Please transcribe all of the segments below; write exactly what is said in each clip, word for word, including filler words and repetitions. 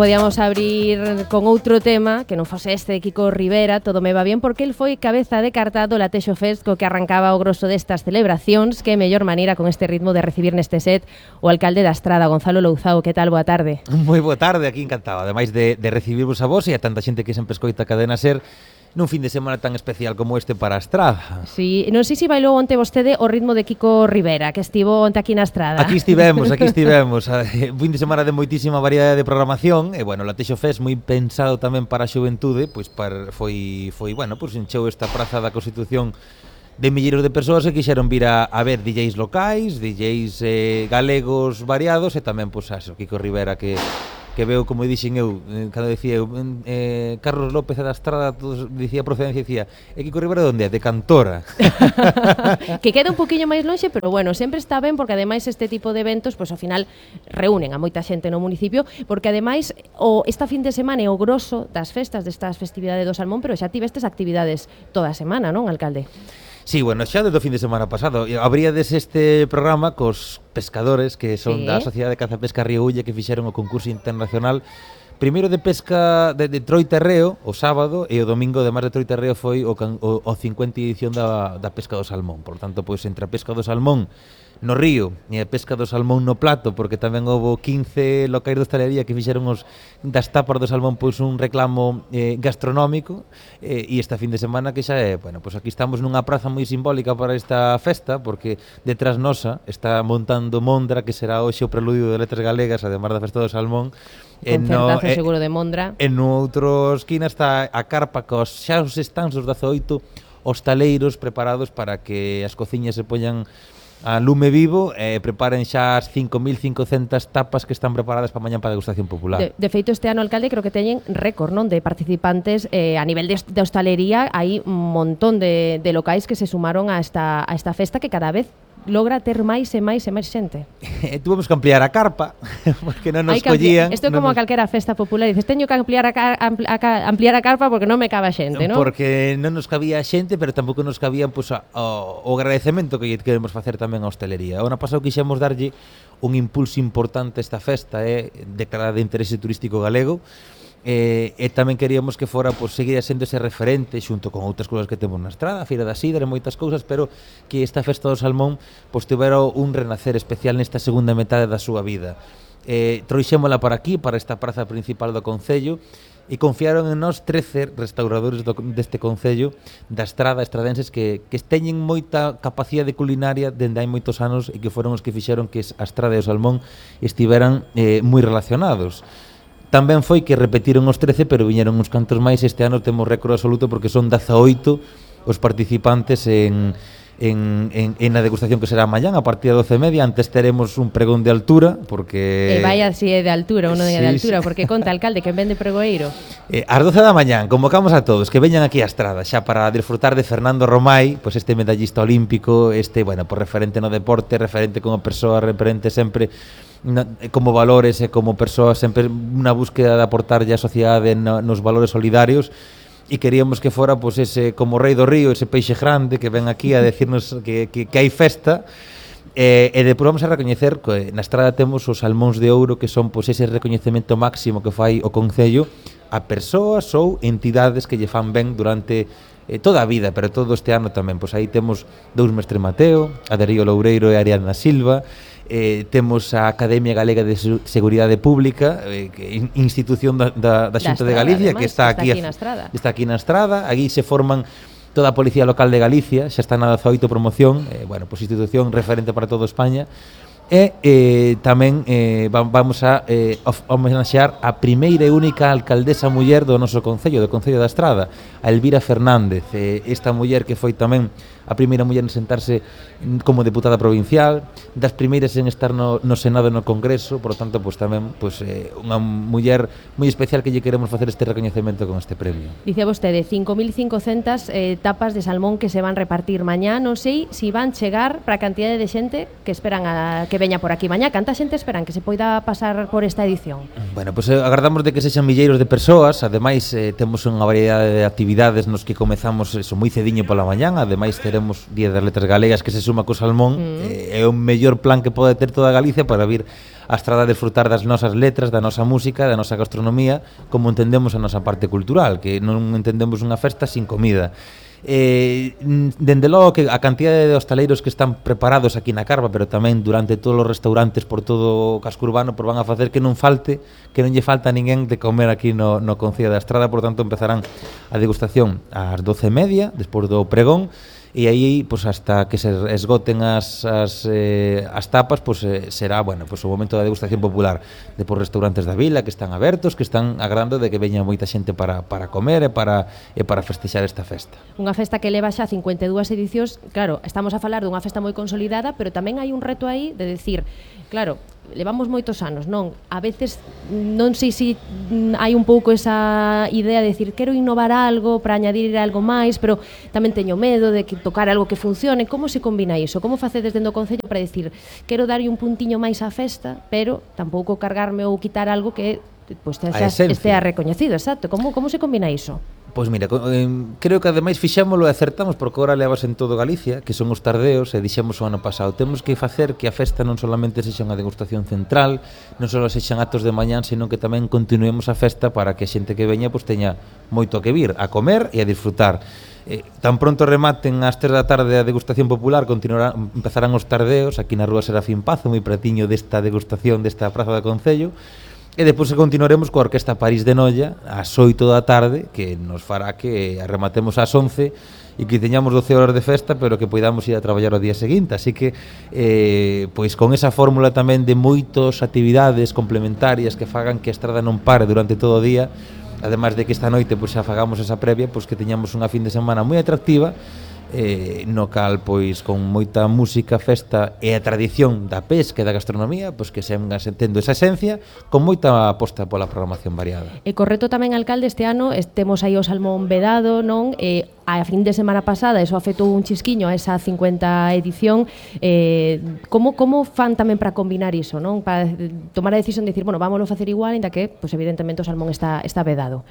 Podíamos abrir con outro tema que non fose este de Kiko Rivera, todo me va bien, porque el foi cabeza de carta do Latexo Fest, co que arrancaba o grosso destas celebracións. Que mellor maneira con este ritmo de recibir neste set o alcalde da Estrada, Gonzalo Louzao. Que tal? Boa tarde. Moi boa tarde, aquí encantado, ademais de, de recibirvos a vos e a tanta xente que sempre escoita a Cadena Ser nun fin de semana tan especial como este para a Estrada. Sí, non sei se bailou onte vostede o ritmo de Kiko Rivera, que estivo onte aquí na Estrada. Aquí estivemos, aquí estivemos. Un fin de semana de moitísima variedade de programación e, bueno, o Latexo Fest moi pensado tamén para a xuventude, pois para, foi, foi, bueno, pois encheu esta praza da Constitución de milleiros de persoas que quixeron vir a, a ver D Js locais, D Js eh, galegos variados e tamén, pois, a Kiko Rivera que... que veo, como dixen eu, cando decía eu, eh, Carlos López da Estrada, todos dicía procedencia, dicía, e Kiko Rivera onde é? De Cantora. Que queda un poquinho máis lonxe, pero bueno, sempre está ben, porque ademais este tipo de eventos, pois ao final reúnen a moita xente no municipio, porque ademais o esta fin de semana é o grosso das festas, destas festividades do Salmón, pero xa tivestes actividades toda a semana, non, alcalde? Sí, bueno, xa desde o fin de semana pasado abríades este programa cos pescadores que son sí. da Sociedade de Caza e Pesca Río Ulla, que fixeron o concurso internacional primeiro de pesca de, de Troiterreo o sábado, e o domingo, además de Troiterreo, foi o, o, o cincuenta edición da, da pesca do salmón. Por tanto, pois entre a pesca do salmón no río e a pesca do salmón no plato, porque tamén houve quince locais de hostalería que fixeron os das tapas do salmón pois un reclamo eh, gastronómico, eh, e esta fin de semana que xa é, bueno, pois aquí estamos nunha praza moi simbólica para esta festa, porque detrás nosa está montando Mondra, que será hoxe o preludio de Letras Galegas, además da festa do salmón. Concertazo no, seguro de Mondra. En outra esquina está a carpa cos xa os stands dos dezaoito hostaleiros preparados para que as cociñas se poñan a lume vivo e eh, preparen xa as cinco mil cincocentas tapas que están preparadas para mañá para a degustación popular. De, de feito, este ano, alcalde, creo que teñen récord, non, de participantes eh, a nivel de, de hostalería. Hai un montón de, de locais que se sumaron a esta, a esta festa, que cada vez logra ter máis e máis e máis xente. Tuvemos que ampliar a carpa, porque non nos collían. Isto é como non nos... a calquera festa popular, dices, teño que ampliar a, car ampli a, ampliar a carpa porque non me cabe a xente, non? Porque non nos cabía a xente, pero tampouco nos cabía pues, a, a, o agradecemento que queremos facer tamén a hostelería. O ano pasado quixemos darlle un impulso importante a esta festa, é eh, declarada de interese turístico galego, E, e tamén queríamos que fora, pues, seguir sendo ese referente xunto con outras cousas que temos na Estrada, a Feira da Sidra e moitas cousas, pero que esta festa do salmón pues, tivera un renacer especial nesta segunda metade da súa vida. Eh, trouxémola para aquí, para esta praza principal do Concello, e confiaron en nós trece restauradores do, deste Concello da Estrada, estradenses que, que teñen moita capacidade culinaria dende hai moitos anos e que foron os que fixeron que a Estrada e o salmón estiveran eh, moi relacionados. Tamén foi que repetiron os trece, pero viñeron uns cantos máis. Este ano temos récord absoluto porque son dezaoito os participantes en, en, en, en a degustación que será mañán a partir das doce e media. Antes teremos un pregón de altura, porque... E vai así de altura, uno sí, de altura, sí. Porque conta, alcalde, que vende pregoeiro. Eh, ás doce da mañán convocamos a todos que veñan aquí á Estrada xa para disfrutar de Fernando Romai, pois este medallista olímpico, este, bueno, por referente no deporte, referente como persoa, referente sempre na, como valores e como persoa, sempre unha búsqueda de aportarlle á sociedade no, nos valores solidarios. E queríamos que fora pois, ese, como rei do río, ese peixe grande que ven aquí a decirnos que, que, que hai festa. E, e depois vamos a recoñecer que na Estrada temos os salmóns de ouro, que son pois, ese recoñecemento máximo que fai o Concello a persoas ou entidades que lle fan ben durante eh, toda a vida, pero todo este ano tamén. Pois aí temos dous Mestre Mateo, a Darío Loureiro e a Ariadna Silva. Eh, temos a Academia Galega de Seguridade Pública, eh, que institución da, da, da Xunta de Galicia, además, que está aquí, está aquí na Estrada. Está aquí na Estrada. Aquí se forman toda a Policía Local de Galicia, xa está na dezaoito promoción, eh, bueno, pois institución referente para toda España. E eh, tamén eh, vamos a eh, homenaxear a primeira e única alcaldesa muller do noso Concello, do Concello da Estrada, a Elvira Fernández. Eh, esta muller que foi tamén a primeira muller en sentarse como deputada provincial, das primeiras en estar no, no Senado e no Congreso, por lo tanto, pues, tamén pues, eh, unha muller moi especial que lle queremos facer este recoñecemento con este premio. Dice vostede, cinco mil cincocentas eh, tapas de salmón que se van repartir mañá. Non sei se si van chegar para a cantidade de xente que esperan a que veña por aquí mañá. Canta xente esperan que se poida pasar por esta edición? Bueno, pues eh, agardamos de que sexan milleiros de persoas. Ademais, eh, temos unha variedade de actividades nos que comezamos eso moi cediño pola mañán. Ademais, teremos Día das Letras Galegas que se suma co salmón. Mm. Eh, é o mellor plan que pode ter toda Galicia para vir a Estrada a desfrutar das nosas letras, da nosa música, da nosa gastronomía, como entendemos a nosa parte cultural, que non entendemos unha festa sin comida. Eh, dende logo que a cantidade de hostaleiros que están preparados aquí na Carva, pero tamén durante todos os restaurantes por todo o casco urbano, por van a facer que non falte, que non lle falta a ninguén de comer aquí no, no Concello da Estrada. Por tanto, empezarán a degustación ás doce e media, despois do pregón, e aí, pues, hasta que se esgoten as, as, eh, as tapas, pues, eh, será, bueno, pues, o momento da degustación popular. Depois restaurantes da vila que están abertos, que están agradando de que veña moita xente para, para comer e para, e para festexar esta festa. Unha festa que leva xa cincuenta e dúas edicións. Claro, estamos a falar dunha festa moi consolidada, pero tamén hai un reto aí de decir, claro, levamos moitos anos, non? A veces non sei se hai un pouco esa idea de decir quero innovar algo para añadir algo máis, pero tamén teño medo de que tocar algo que funcione. Como se combina iso? Como facedes dentro do Concello para decir quero darlle un puntiño máis á festa, pero tampouco cargarme ou quitar algo que pues, estea recoñecido? Exacto. Como, como se combina iso? Pois mira, eh, creo que ademais fixémolo e acertamos, porque agora levas en todo Galicia, que son os tardeos, e dixemos o ano pasado, temos que facer que a festa non solamente sexa unha degustación central, non só sexan actos de mañán, sino que tamén continuemos a festa para que a xente que veña pues, teña moito que vir, a comer e a disfrutar. Eh, tan pronto rematen ás tres da tarde a degustación popular, continuarán, empezarán os tardeos, aquí na rúa Serafín Pazo, moi pretiño desta degustación desta Praza do Concello. E depois continuaremos coa Orquesta París de Noia ás oito da tarde, que nos fará que rematemos ás once e que teñamos doce horas de festa, pero que poidamos ir a traballar o día seguinte. Así que, eh, pois con esa fórmula tamén de moitas actividades complementarias que fagan que a Estrada non pare durante todo o día, ademais de que esta noite pois, xa fagamos esa previa, pois que teñamos unha fin de semana moi atractiva, eh, no cal, pois, con moita música, festa e a tradición da pesca e da gastronomía, pois que se tendo esa esencia, con moita aposta pola programación variada. E correcto tamén, alcalde, este ano temos aí o salmón vedado, non? E a fin de semana pasada eso afectou un chisquiño a esa cincuenta edición. Eh, como, como fan tamén para combinar iso, non? Para tomar a decisión de decir, bueno, vámoslo facer igual, ainda que, pois, evidentemente, o salmón está, está vedado.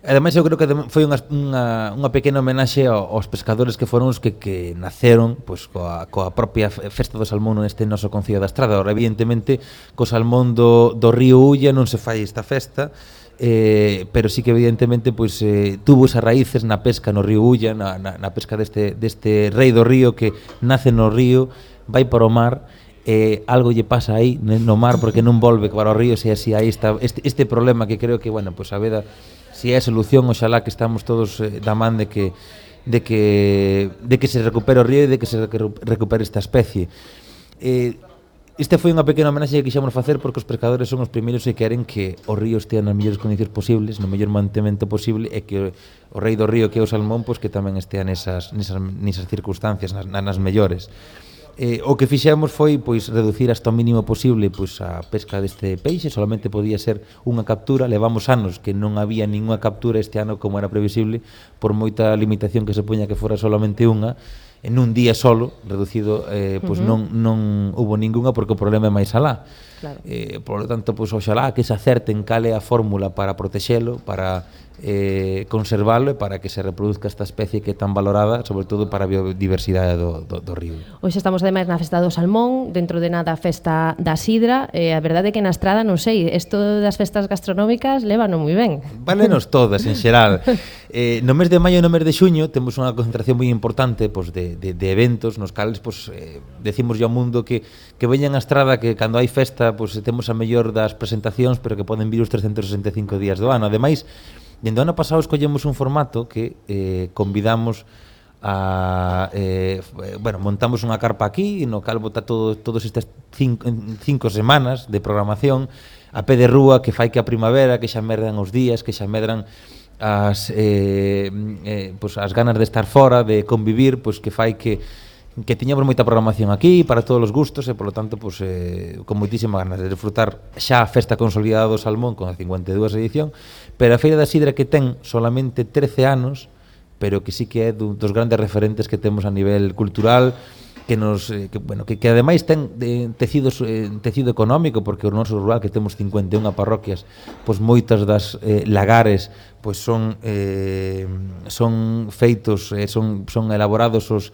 Ademais, eu creo que foi unha, unha, unha pequena homenaxe aos pescadores que foron os que, que naceron pois, coa, coa propia festa do salmón neste noso Concello da Estrada. Ora, evidentemente, co salmón do, do río Ulla non se fai esta festa, eh, pero sí que evidentemente pois, eh, tuvo esas raíces na pesca no río Ulla, na, na, na pesca deste, deste rei do río que nace no río, vai para o mar, eh, algo lle pasa aí no mar porque non volve para o río, se así aí está este, este problema que creo que, bueno, pois a veda si é a solución, oxalá que estamos todos eh, da man de que de que de que se recupere o río e de que se recupere esta especie. Eh, Este foi unha pequena homenaxe que quixemos facer porque os pescadores son os primeiros que queren que o río estea nas mellores condicións posibles, no mellor mantemento posible, e que o rei do río, que é o salmón, pois que tamén estea nesas, nesas, nesas circunstancias, nas, nas mellores. Eh, o que fixemos foi pois reducir hasta o mínimo posible pois a pesca deste peixe, solamente podía ser unha captura. Levamos anos que non había ninguna captura, este ano como era previsible, por moita limitación que se poña que fora solamente unha, en un día solo, reducido, eh, pois uh -huh. non, non hubo ninguna porque o problema é máis alá. Claro. Eh, por lo tanto, pois oxalá que se acerten cal é a fórmula para protexelo, para eh, conservalo e para que se reproduzca esta especie que é tan valorada, sobre todo para a biodiversidade do, do, do río. Hoxe estamos ademais na festa do salmón, dentro de nada a festa da sidra, e a verdade é que na Estrada, non sei, isto das festas gastronómicas lévano moi ben. Válenos todas, en xeral. Eh, no mes de maio e no mes de xuño temos unha concentración moi importante pois, de, de, de eventos nos cales pois, eh, decimos ao mundo que, que veñan a Estrada, que cando hai festa pois, temos a mellor das presentacións, pero que poden vir os trescentos sesenta e cinco días do ano. Ademais, dende o ano pasado escollemos un formato que eh, convidamos a eh, bueno, montamos unha carpa aquí no cal bota todo, todos estas cinco, cinco semanas de programación a pé de rúa, que fai que a primavera, que xa medran os días, que xa medran as eh, eh, pues as ganas de estar fora, de convivir, pois que fai que que tiñamos moita programación aquí para todos os gustos e, polo tanto, pues, eh, con moitísima ganas de disfrutar xa a festa consolidada do salmón con a cincuenta e dúas edición, pero a Feira da Sidra que ten solamente trece anos, pero que sí que é dos grandes referentes que temos a nivel cultural, que nos eh, que, bueno, que, que ademais ten de, tecido, eh, tecido económico, porque o noso rural, que temos cincuenta e unha parroquias, pois moitas das eh, lagares pois son eh, son feitos, eh, son, son elaborados os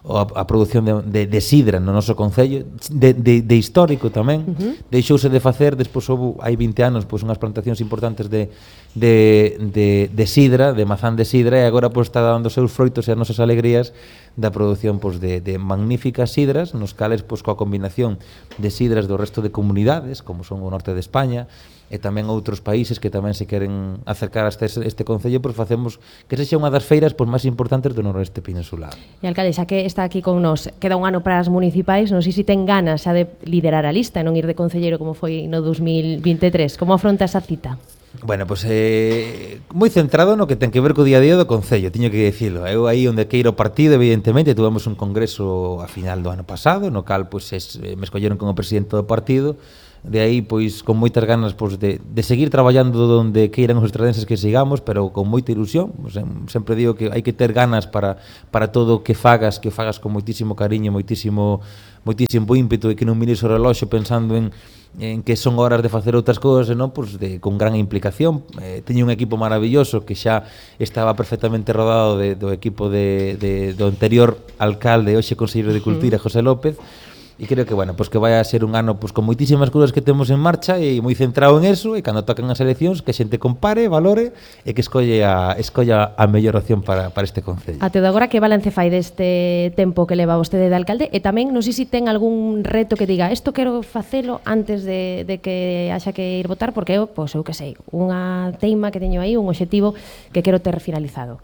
a, a produción de, de, de sidra no noso concello, de, de, de histórico tamén. Uh-huh. Deixouse de facer, despois houve, hai vinte anos, pois unhas plantacións importantes de, de, de, de sidra, de mazán de sidra, e agora pois está dando seus froitos e as nosas alegrías da produción pois, de, de magníficas sidras, nos cales pois, coa combinación de sidras do resto de comunidades, como son o norte de España, e tamén outros países que tamén se queren acercar a este, este concello, pois facemos que sexa unha das feiras pois, máis importantes do noroeste peninsular. E alcalde, xa que está aquí con nos, queda un ano para as municipais, non sei se ten ganas xa de liderar a lista e non ir de concelleiro como foi no dos mil vinte e tres. Como afronta esa cita? Bueno, pois eh, moi centrado no que ten que ver co día a día do Concello, tiño que dicilo. Eu aí onde queiro o partido, evidentemente, tuvemos un congreso a final do ano pasado, no cal pois, es, me escolleron como presidente do partido. De aí, pois, con moitas ganas pois, de, de seguir traballando donde queiran os estradenses que sigamos, pero con moita ilusión. Pois, sempre digo que hai que ter ganas para, para todo o que fagas, que fagas con moitísimo cariño, moitísimo, moitísimo ímpeto, e que non mires o reloxo pensando en, en que son horas de facer outras cousas, non? Pois, de, con gran implicación. Eh, teño un equipo maravilloso que xa estaba perfectamente rodado de, do equipo de, de, do anterior alcalde, hoxe conselleiro de Cultura, José López. E creo que, bueno, pues que vai a ser un ano pues, con moitísimas cousas que temos en marcha e moi centrado en eso, e cando tocan as eleccións que a xente compare, valore e que escolle a, escolla a mellor opción para, para este concello. Até de agora, que balance fai deste tempo que leva vostede de alcalde? E tamén, non sei se ten algún reto que diga isto quero facelo antes de, de que haxa que ir votar, porque eu, pois, eu que sei, unha teima que teño aí, un obxectivo que quero ter finalizado.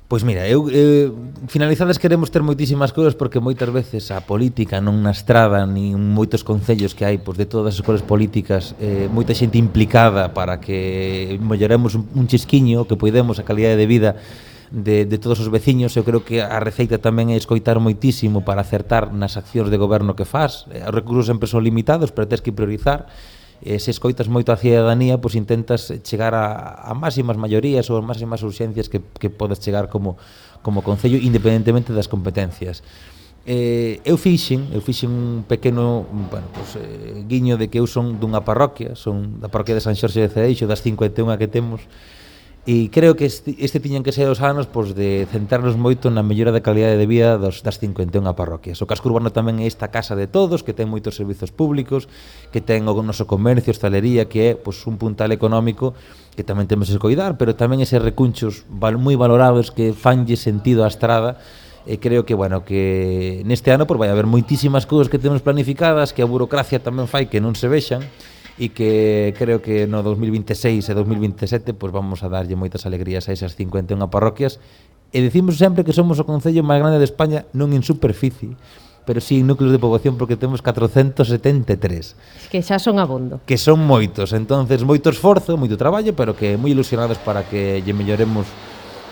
Pois mira, eu eh, finalizadas queremos ter moitísimas cousas, porque moitas veces a política non na estrada ni moitos concellos que hai pois, de todas as escolas políticas, eh, moita xente implicada para que melloremos un, un chisquiño, que poidemos a calidade de vida de, de todos os veciños. Eu creo que a receita tamén é escoitar moitísimo para acertar nas accións de goberno que faz. Os recursos sempre son limitados, pero tens que priorizar. E se escoitas moito a cidadanía, pois intentas chegar a, a máximas maiorías ou a máximas urxencias que, que podes chegar como, como concello, independentemente das competencias. Eh, eu fixen, eu fixen un pequeno, bueno, pues, eh, guiño de que eu son dunha parroquia, son da parroquia de San Xorxe de Cedeixo, das cincuenta e unha que temos, e creo que este, este tiñan que ser os anos pois, de centrarnos moito na mellora da calidade de vida dos, das cincuenta e unha parroquias. O casco urbano tamén é esta casa de todos, que ten moitos servizos públicos, que ten o noso comercio, hostalería, que é pois, un puntal económico que tamén temos que coidar, pero tamén eses recunchos val, moi valorados que fanlle sentido á estrada. E creo que, bueno, que neste ano pois, vai haber moitísimas cousas que temos planificadas, que a burocracia tamén fai que non se vexan, e que creo que no dos mil vinte e seis e dos mil vinte e sete pues vamos a darlle moitas alegrías a esas cincuenta e unha parroquias, e decimos sempre que somos o concello máis grande de España, non en superficie, pero sí en núcleos de poboación, porque temos catrocentos setenta e tres. Que xa son abondo. Que son moitos, entonces moito esforzo, moito traballo, pero que moi ilusionados para que lle melloremos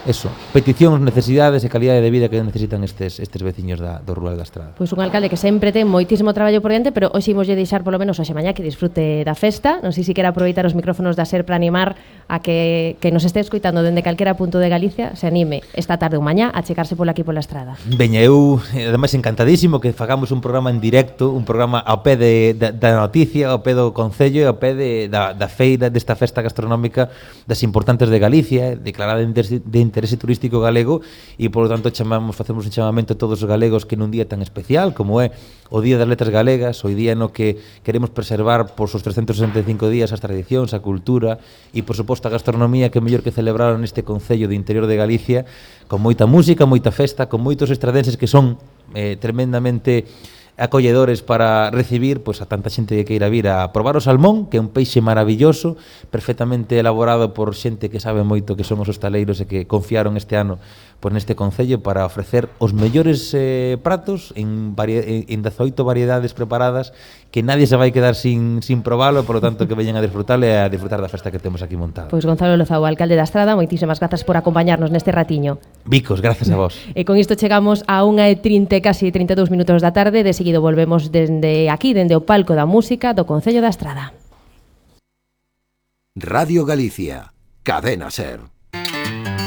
eso, peticións, necesidades e calidade de vida que necesitan estes estes veciños da, do rural da Estrada. Pois un alcalde que sempre ten moitísimo traballo por diante, pero hoxe imoslle deixar polo menos hoxe mañá que disfrute da festa. Non sei se quera aproveitar os micrófonos da SER para animar a que, que nos este escoitando dende calquera punto de Galicia se anime esta tarde ou mañá a checarse pola aquí pola Estrada. Veña, eu ademais encantadísimo que fagamos un programa en directo, un programa ao pé de, da, da noticia, ao pé do concello e ao pé de, da, da feira, desta festa gastronómica das importantes de Galicia, declarada de interese turístico galego, e por lo tanto chamamos, facemos un chamamento a todos os galegos que nun día tan especial como é o Día das Letras Galegas, o día no que queremos preservar por os trescentos sesenta e cinco días as tradicións, a cultura e por suposto a gastronomía, que mellor que celebraron neste concello de interior de Galicia, con moita música, moita festa, con moitos estradenses que son eh, tremendamente acolledores para recibir pois, a tanta xente que queira vir a probar o salmón, que é un peixe maravilloso, perfectamente elaborado por xente que sabe moito, que son os hostaleiros e que confiaron este ano pois, neste concello para ofrecer os mellores eh, pratos en, vari en dezaoito variedades preparadas, que nadie se vai quedar sin, sin probalo, por lo tanto que veñan a disfrutar e a disfrutar da festa que temos aquí montada. Pois Gonzalo Lozao, alcalde da Estrada, moitísimas grazas por acompañarnos neste ratiño. Vicos, gracias a vos. E con isto chegamos a unha e trinta, casi trinta e dous minutos da tarde. De seguido volvemos dende aquí, dende o palco da música do Concello da Estrada. Radio Galicia, Cadena SER.